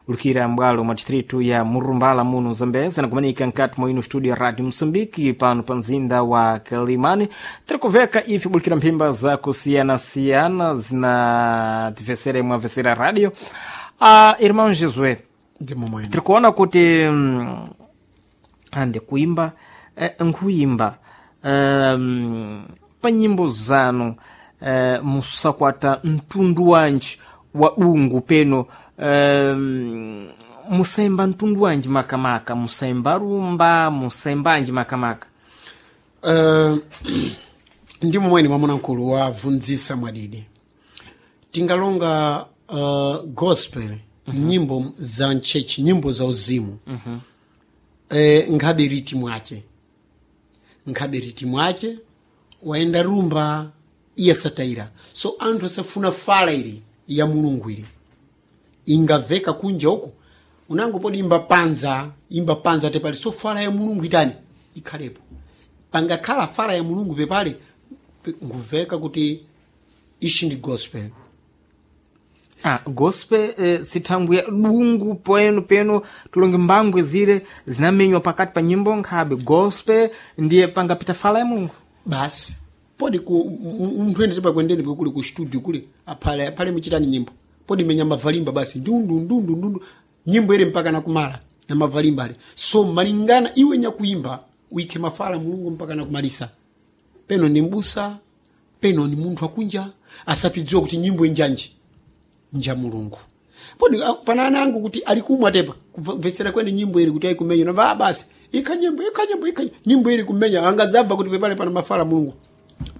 Lukira mbwalo mwa distritu ya Murumbala muno Zambeza nakumanika nkati mwa ino studio ya Rádio Moçambique pano pa mzinda wa Kalimani. Tirikuveka ife bulikira mphimba za kusiyana-siyana zinativesera imwe avesera rádio. Irmão Josué, Ndimo mwene. tirikuona kuti ande kuimba nkuimba pa nyimbo zanu musakwata mtundu wanji wa dungu peno musaimba mtundu wanji makamaka, musaimba rumba, musaimbanji makamaka? Ndimo mwene mwamuna mkulu wabvunzisa mwadidi tingalonga gospel, nyimbo za nchechi, nyimbo za uzimu. Nkhabe riti mwace, nkhabe riti mwace waenda rumba iye sataira. So anthu asafuna fala ili ya Mulungu ili ingaveka kunja uku unango podi imba panza, imba panza tepali. So fala ya Mulungu itani ikhalepo, pangakhala fala ya Mulungu pepale nguveka kuti ishi ndi gospel. Gospel sithangwi ya dungu peno peno tulonge mbangwe zile zinamenywa pakati pa nyimbo nkhabe gospel ndiye pangapita fala ya Mulungu. Basi podi ku munthu ene tipakwendeni kuli ku studio kuli aphale aphale muchitani nyimbo podi menya mavalimba basi ndundu ndundu ndundu nyimbo ili mpaka nakumala na mavalimba ale. So malingana iwe nyakuimba uikhe mafala Mulungu mpaka nakumalisa. Peno ni mbusa, peno ni munthu akunja asapidziwa kuti nyimbo injanji nja Mulungu. Podi pana ana angu kuti alikumwa tepa kumvetsera kwene nyimbo ili kuti aikumenya nava basi ikha nyimbo, ikha nyimbo, ikha nyimbo ili kumenya angadzabva kuti pepale pana mafala Mulungu.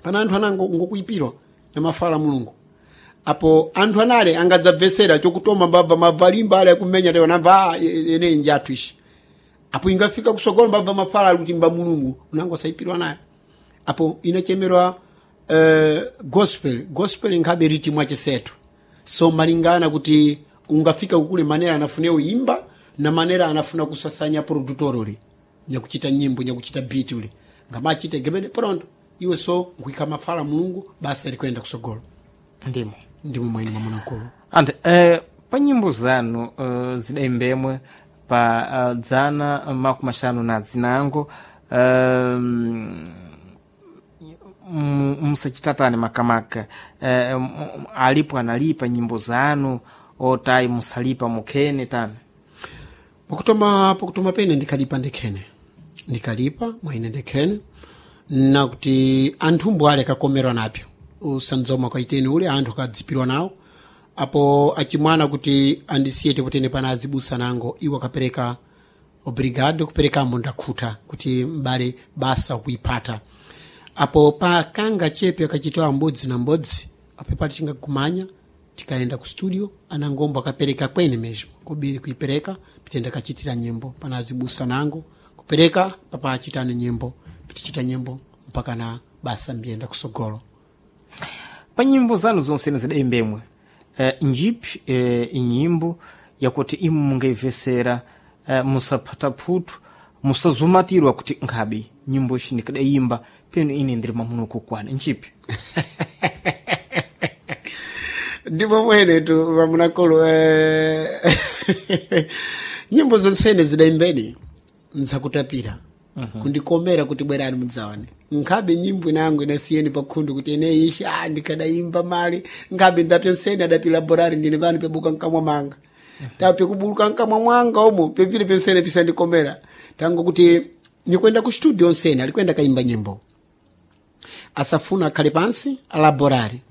Pana anthu anango ngokuipirwa na mafala Mulungu. Apo anthu anale angadzabvesera chokutoma mbabva mavalimba ale akumenya tepa nabva ene njathu ishi. Apo ingafika kusogolo mbabva mafala ali kuti mba Mulungu unango saipirwa nayo. Apo inachemerwa gospel, gospel nkhabe riti mwachesetu. So malingana kuti ungafika kukule manera anafuna uimba na manera anafuna kusasanya produtor uli nyakuchita nyimbo, nyakuchita beat uli ngamachite gebede pronto iwe. So nkuika mafala Mulungu basa likwenda kusogolo. Ndimo. Ndimo mwene mwamuna mkulu. Ante pa nyimbo zanu zidaimbemwe pa dzana 50 na zinango musachitatani makamaka alipo analipa nyimbo zanu otayi musalipa mukhene tani? Pokutoma, pokutoma pene ndikhalipa ndekhene, ndikhalipa mwaine ndekhene nakuti anthumbo ale akakomerwa napyo usanzoma kwaiteni ule anthu akadzipirwa nawo. Apo achimwana kuti andisiye tepotene pana azibusa nango iwo akapereka obrigado kuperekamo ndakhuta kuti mbale basa kuipata. Apo pakanga chepe akachitowa mbodzi na mbodzi apo pali tingagumanya tikaenda ku studio anangombo akapereka kwene mesmo kobiri kuipereka pitenda kachitira nyimbo pana azibusa nango kupereka papa achitane nyimbo pitichita nyimbo mpaka na basa mbiyenda kusogolo. Pa nyimbo zanu zonse zidaimbemwe njipi inyimbo yakuti imu mungaivesera musaphata phutu musazumatirwa kuti nkhabe nyimbo ishi ndikadayimba peno ine ndiri mamuno kukwana, njipi? Ndipo mwene tu vamunakolo nyimbo zonsene zidaimbeni nzakutapira kundikomera kuti bwerani mudzaone. Nkhabe nyimbo inango inasiyeni pakhundu kuti ene ishi ndikadaimba mali nkhabe ndapyonsene adapila borari ndine pano pebuka nkamwa manga tapye kubuluka nkamwa mwanga omo pepile pyonsene pisandikomera tango kuti nikwenda ku studio onsene alikwenda kaimba nyimbo asafuna akhale pansi alaborari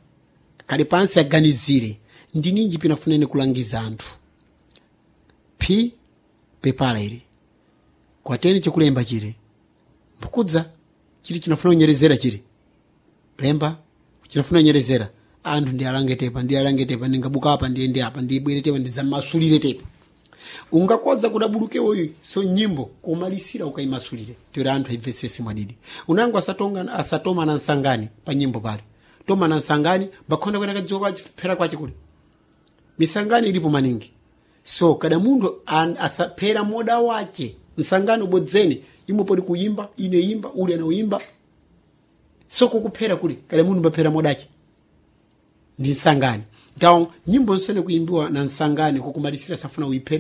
akhale pansi aganizire ndininji pinafunene kulangiza anthu p pepala ili kwateni chikulemba chili mbukudza chili chinafuna kunyerezera chili lemba chinafuna kunyerezera anthu ndi alange tepa, ndi alange tepa, ndingabuka apa ndiyende apa ndibwere tepa ndizamasulire tepa ungakoza kudabuluke uyu. So nyimbo kumalisira ukaimasulire tori anthu aibvesese mwadidi unango asatonga asatoma na nsangani pa nyimbo pale toma na nsangani mbakhonda kwena kadziwa kwaphera kwache kule misangani ilipo maningi. So kada munthu asaphera moda wache nsangani ubodzeni imwe podi kuyimba ine imba uli anauyimba so kukuphera kule kada munthu mbaphera modache ndi nsangani. Então nyimbo nsene kuimbiwa na nsangani kukumalisira safuna uiphere.